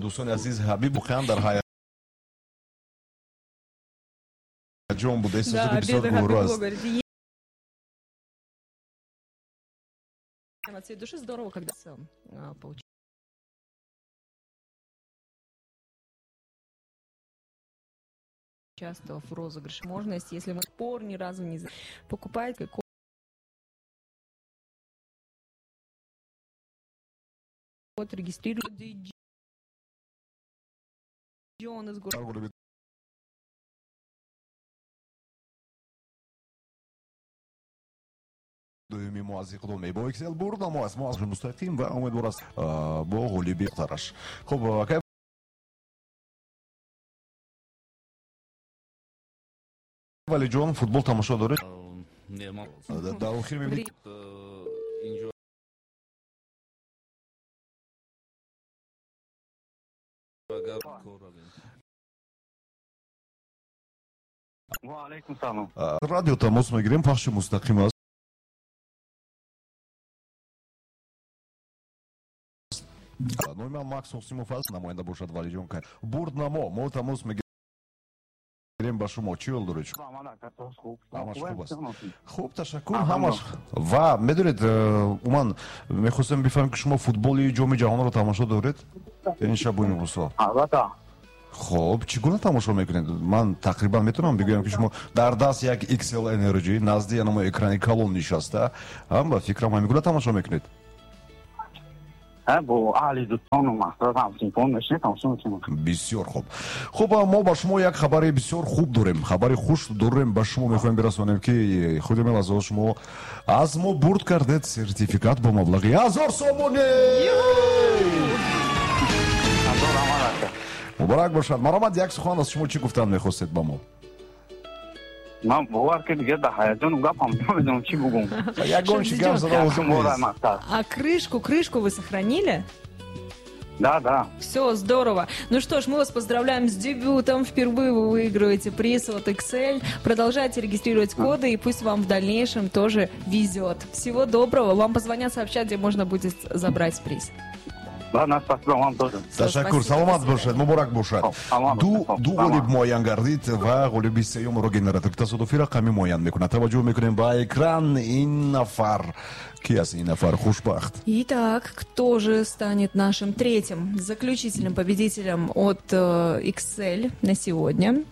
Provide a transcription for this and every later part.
Дӯстони азиз, Ҳабиб воқеан дар ҳаяҷон буда, эҳсосоти бисёр гуворо аст. От всей души здорово, когда поучаствовал в розыгрыше. Возможность, если мы спор ни разу не покупать, код регистрирует Джон из города. Дуюми мо аз иқдоми бо XL бурда мо аст, мо аз мустақим ва умедвор аст бо ғолиби тараш. Хуб, акай Валиҷон, футбол тамошо доред? Не, ман Дар охир мебинед. Инҷо агар кор равем. Ва алайкум салом. Радио тамос мегирем, пахши мустақим аст. Номи ман Макс Ҳосимов аст, намоянда бошад Валиҷон Карим. Бурднамо, мо тамос мегирем ба шумо. Чӣ ҳол доред? Ҳамаш хуб аст. Хуб, ташаккур, ҳамаш. Ва медонед, умуман мехостем бифаҳмем, ки шумо футболи Ҷоми ҷаҳонро тамошо доред? Ин шабу имрӯзҳо. Албатта. Хуб, чӣ гуна тамошо мекунед? Ман тақрибан метавонам бигӯям, ки шумо дар даст як XL Energy назди янамо экрани калон нишаста, ҳам ба фикрам ҳамин гуна тамошо мекунед. Бо аҳли дӯстону мақсад ҳамсинфон мешинем, тамошо мекунем. Бисёр хуб. Хуб, мо ба шумо як хабари бисёр хуб дорем, хабари хуш дорем, ба шумо мехоҳем бирасонем, ки худи мелазо шумо аз мо бурд кардед сертификат бо маблағи 1000 сомонӣ. Муборак бошад. Маромад, як сухан аз шумо, чӣ гуфтан мехостед ба мо? Ман бовар ки дигар дар ҳаяҷону гапам намедонам чӣ бугум. Ягон чӣ гап зада лозим нест. А крышку вы сохранили? Да, да. Все, здорово. Ну что ж, мы вас поздравляем с дебютом. Впервые вы выигрываете приз от XL. Продолжайте регистрировать коды, и пусть вам в дальнейшем тоже везет. Всего доброго. Вам позвонят, сообщат, где можно будет забрать приз. Ладно, спасибо вам тоже. Ташаккур, саломат бошед, муборак бошад. Ду ғолиб муайян гардид ва ғолиби сеюмро генератор тасодуфӣ рақамӣ муайян мекунад. Таваҷҷӯҳ мекунем ба экран. Ин нафар ки аст? Ин нафар хушбахт. Итак, кто же станет нашим третьим заключительным победителем от XL на сегодня?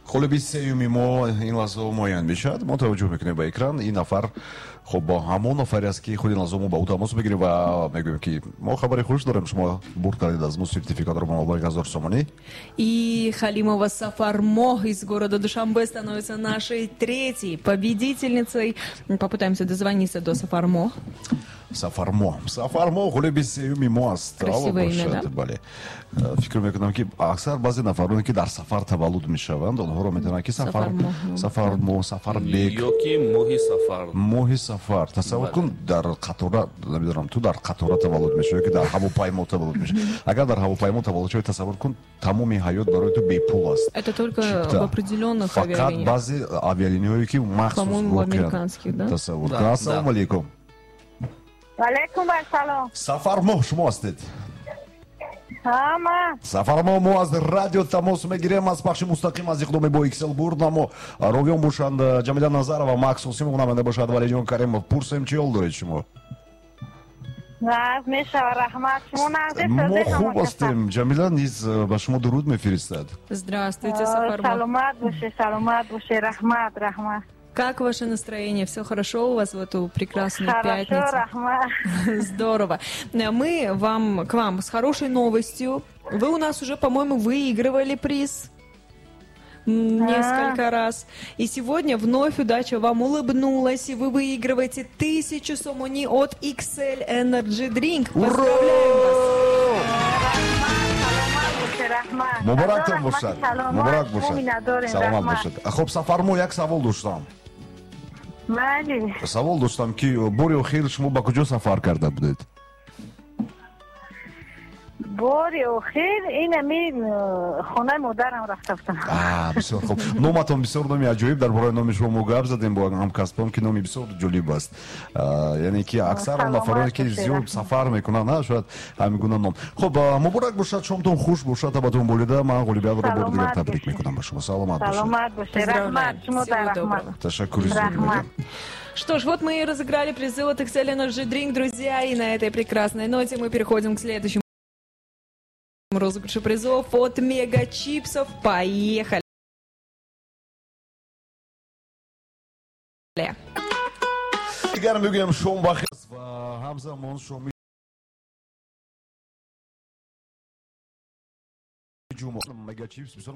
Ғолиби сеюми мо ин лаҳза муайян мешавад. Мо таваҷҷӯҳ мекунем ба экран. Ин нафар хуб бо ҳамон нафаре аст, ки худи лаҳза мо ба ӯ тамос мегирем ва мегӯем, ки мо хабари хуш дорем, шумо бурд кардед аз мо сертификатро бо маблағи 1000 сомонӣ. И Халимова Сафармо из города Душанбе становится нашей третьей победительницей. Попытаемся дозвониться до Сафармо. Сафармо. Сафармо ғолиби сеюми мо аст. Красивое имя, да? Бале. Фикр мекунам, ки аксар баъзе нафароне, ки дар сафар таваллуд мешаванд, онҳоро метавонанд, ки Сафармо, Сафарбек. Ёки моҳи сафар. Моҳи сафар. Тасаввур кун, дар қатора, намедонам, ту дар қатора таваллуд мешавӣ, ки дар ҳавопаймо таваллуд мешавӣ. Агар дар ҳавопаймо таваллуд шавӣ, тасаввур кун, тамоми ҳаёт барои ту бепул аст. Это только в определенных авиалиниях. Фақат баъзе авиалиниҳое, ки махсус воқеан. Тасаввур кун. Ассалому алайкум. Алейкум ассалом. Сафармо шумо ҳастед? Ҳама. Сафармо, мо аз радио тамос мегирем, аз пахши мустақим аз иқдоми бо XL бурднамо. Ровиён бошанд Ҷамила Назарова, Макс Ҳосимов, намоянда бошад Валиҷон Каримов. Пурсем, чӣ ҳол доред шумо? Нағз мешава, раҳмат. Шумо нағз Мо хуб ҳастем. Ҷамила низ ба шумо дуруд мефиристад. Здравствуйте, Сафармо. Саломат бошед, саломат бошед. Раҳмат, раҳмат. Как ваше настроение? Все хорошо у вас в эту прекрасную пятницу? Хорошо, Здорово. Мы к вам с хорошей новостью. Вы у нас уже, по-моему, выигрывали приз несколько раз. И сегодня вновь удача вам улыбнулась, и вы выигрываете 1000 сомони от XL Energy Drink. Поздравляем вас! Муборактон бошад. Муборак бошад. Саломат бошад. Хуб, Сафармо, як савол доштам. Бале. Савол доштам, ки бори охир шумо ба куҷо сафар карда будед? Бори охир инами хонаи модарам рафта будам. Бисёр хуб. Номатон бисёр номи аҷоиб. Дар бораи номи шумо мо гап задем бо ҳамкасбон, ки номи бисёр ҷолиб аст. Яъне ки аксар он нафароне ки зиёд сафар мекунанд, шояд ҳамин гуна ном. Хуб, муборак бошад, шомтон хуш бошад, табатон болида. Ман ғолибиятро бори дигар табрик мекунам ба шумо. Саломат бошед. Саломат бошед. Раҳмат, шумо раҳмат. Ташаккури зиёд. Что ж, вот мы и разыграли призы от Excel Energy Drink, друзья. И на этой прекрасной ноте мы переходим к следующему розыгрышу призов от Мега Чипсов. Поехали! Дигар мегӯям, шом бахир ва ҳамзамон шоми ҷумъа. Мега Чипс бисёр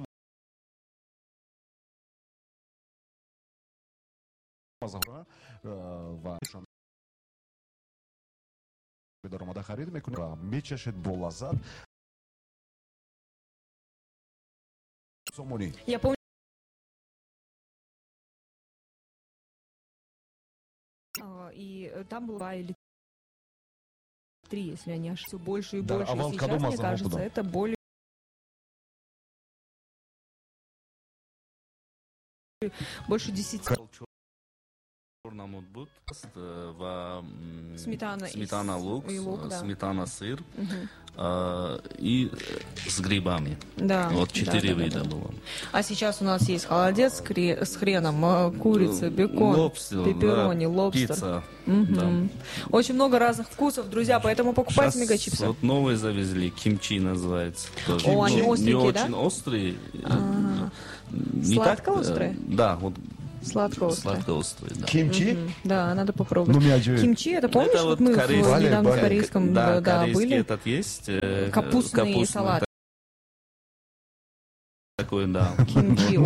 ва даромада харид мекунед ва мечашед бо лаззат. Сомонӣ. Я помню, и там было 2 или 3, если я не ошибаюсь, все больше и больше. И сейчас, мне кажется, это более больше 10. Намуд буд ва сметана, сметана лук, и лук, да. Сметана сыр, и с грибами. Да. Вот 4 вида было. А сейчас у нас есть холодец с хреном, курица, бекон, лобстер, пепперони, да, лобстер. Пицца. Угу. Да. Очень много разных вкусов, друзья, поэтому покупайте мегачипсы. Вот новые завезли, кимчи называется. Тоже. О, они остренькие, не да? очень острые. Сладко-острые? Да, вот. Сладко-острый. Сладко-острый, да. Кимчи? Да, надо попробовать. Ну, кимчи, это помнишь, это вот мы корейский, недавно в корейском, да, да, корейский были. Этот есть. Капустный салат. Такой, да. Кимчи.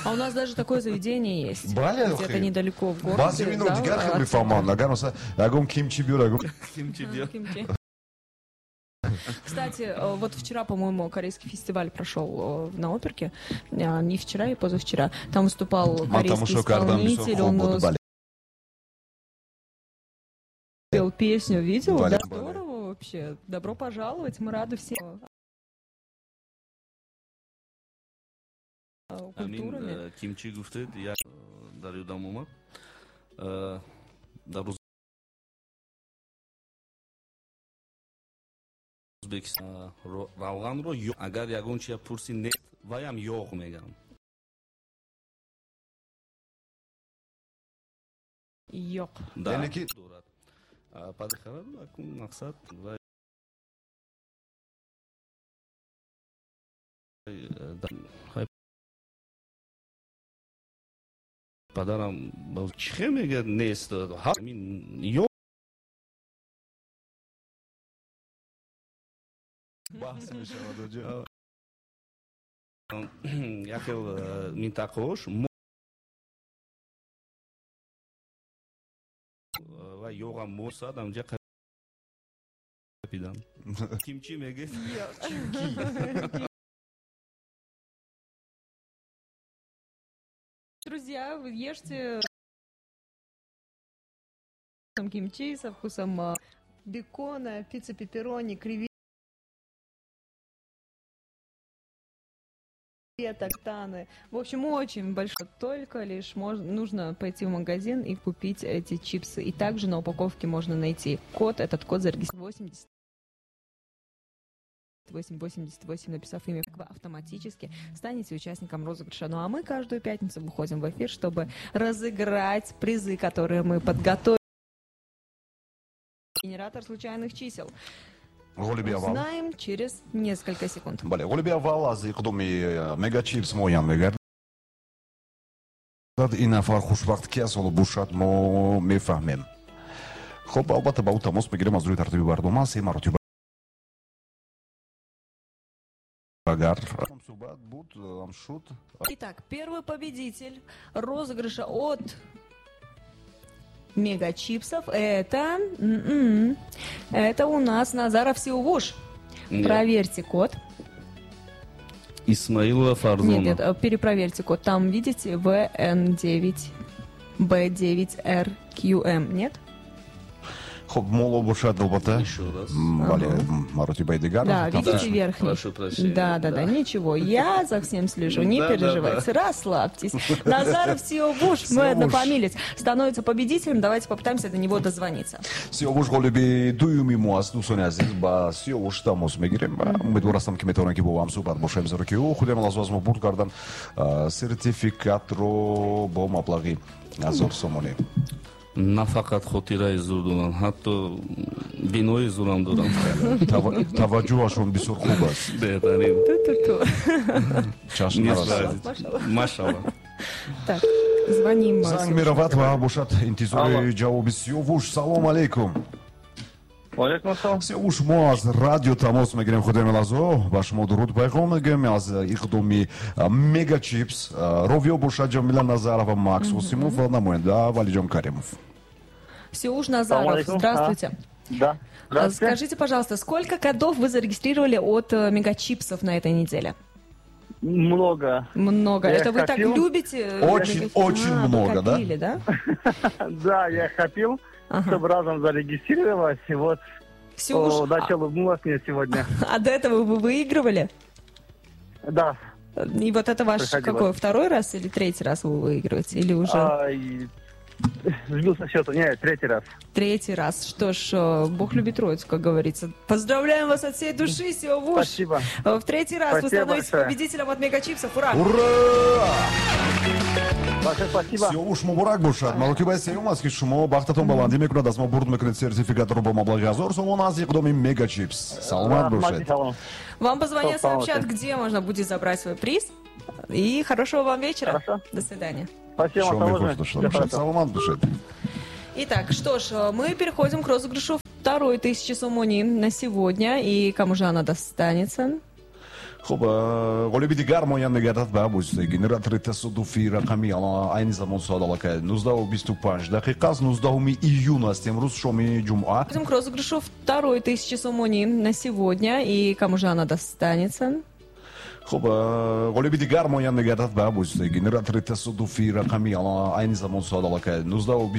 А у нас даже такое заведение есть. Где-то недалеко в городе. Кимчи. Кстати, вот вчера, по-моему, корейский фестиваль прошел на Оперке. Не вчера и позавчера. Там выступал корейский исполнитель. Он пел песню, видел? Да, здорово вообще. Добро пожаловать, мы рады всем. Культурами. Кимчи гуфтед, я дарю дамума. Ӯзбекистон равғанро агар ягон чия пурси нест, ваям ёғ мегам. Ёқ. Да. Яъне ки дорад. Падхарад акун мақсад ва падарам чӣ мегӯяд нест. Ҳамин ёғ баҳс мешавад. Як хел минтақаҳош ва ёғам мосад амҷа қапидан. Кимчи мегӯяд? Друзья, вы ешьте кимчи со вкусом бекона, пицца пепперони, креветок, таны. В общем, очень большой. Только лишь нужно пойти в магазин и купить эти чипсы. И также на упаковке можно найти код. Этот код зарегистрирован 8888, написав имя, вы автоматически станете участником розыгрыша. Ну а мы каждую пятницу выходим в эфир, чтобы разыграть призы, которые мы подготовили. Генератор случайных чисел. Узнаем через несколько секунд. Бале, ғолиби аввал аз иқдоми Мегачипс муайян мегардад. Ин нафар хушбахт ки аст, ҳоло бошад, мо мефаҳмем. Хуб, албатта ба ӯ тамос мегирем аз рӯи тартиби барнома се маротиба. Агар суҳбат буд, шуд. Итак, первый победитель розыгрыша от Мегачипсов это у нас Назаров Сиувуш. Проверьте код. Исмаилова Фарзона. Нет, нет, перепроверьте код. Там, видите, ВН9 Б9РQМ, нет? Хуб, моло бошад, албатта. Еще раз. Бале, маротибаи дигар. Да, видите верхний. Прошу прощения. Да, ничего. Я за всем слежу, не переживайте, расслабьтесь. Назаров Сиовуш, мой однофамилец, становится победителем. Давайте попытаемся до него дозвониться. Сиовуш ғолиби дуюми мо аст, дӯстони азиз, ба Сиовуш тамос мегирем ва умедвор ҳастам, ки метавонем, ки бо ҳам суҳбат бошем, зеро ки ӯ худи лаҳза аз мо бурд кардан сертификатро бо маблағи 1000 сомонӣ. На фақат хотираи зур дорам, ҳатто бинои зурам дорам. Таваҷҷӯҳашон бисёр хуб аст. Беҳтарин. Чашм нарасад. Машалла. Так, звоним. Занг меравад ва бошад интизори ҷавоби Сиёвуш. Салом алейкум. Валейкум ассалом. Сиёвуш, мо аз радио тамос мегирем, худи лаҳзо ба шумо дуруд пайғом мегӯем аз иқдоми Мегачипс. Ровиё бошад Ҷамила Назарова, Макс Осимов ва намоянда Валиҷон Каримов. Сиуш Назаров, здравствуйте. Да. Скажите, пожалуйста, сколько кодов вы зарегистрировали от Мегачипсов на этой неделе? Много. Много. Я Это вы так копил. Любите? Очень, очень А, вы много, да? копили, да? Да, я копил, чтобы разом зарегистрировать. И вот Сиуш, удача улыбнулась мне сегодня. А до этого вы выигрывали? Да. И вот это ваш Приходилось. Какой, второй раз или третий раз вы выигрываете? Или уже А, сбился счета. Нет, третий раз. Третий раз? Что ж, Бог любит троицу, как говорится. Поздравляем вас от всей души, Сиовуш. Спасибо. В третий раз вы Спасибо становитесь большое. Победителем от Мегачипсов. Ура! Ура! Большое спасибо. Сиёвуш, муборак бошад! Маротибаи сеюм аст, ки шумо бахтатон баландӣ мекунад, аз мо бурд мекунед сертификатро бо маблағи 1000 сомон аз иқдоми Мегачипс. Саломат Раҳмати бошед. Салом. Вам позвонят, Салом. сообщат, где можно будет забрать свой приз. И хорошего вам вечера. Хорошо. До свидания. Спасибо, Шоми того хуш же. дошта Всего бошад. хорошего. Саломат бошед. Итак, что ж, мы переходим к розыгрышу второй тысячи сомони на сегодня. И кому же она достанется? Хуб, ғолиби дигар муайян мегардад ба воситаи генератори тасодуфии рақами. Айни замон соат аллакай 19:25 дақиқа аст, 19 июн аст имрӯз, шоми ҷумъа. Переходим к розыгрышу второй тысячи сомони на сегодня. И кому же она достанется? Хуб, ғолиби дигар муайян мегардад ба воситаи генератори тасодуфии рақами. Айни замон соат аллакай 19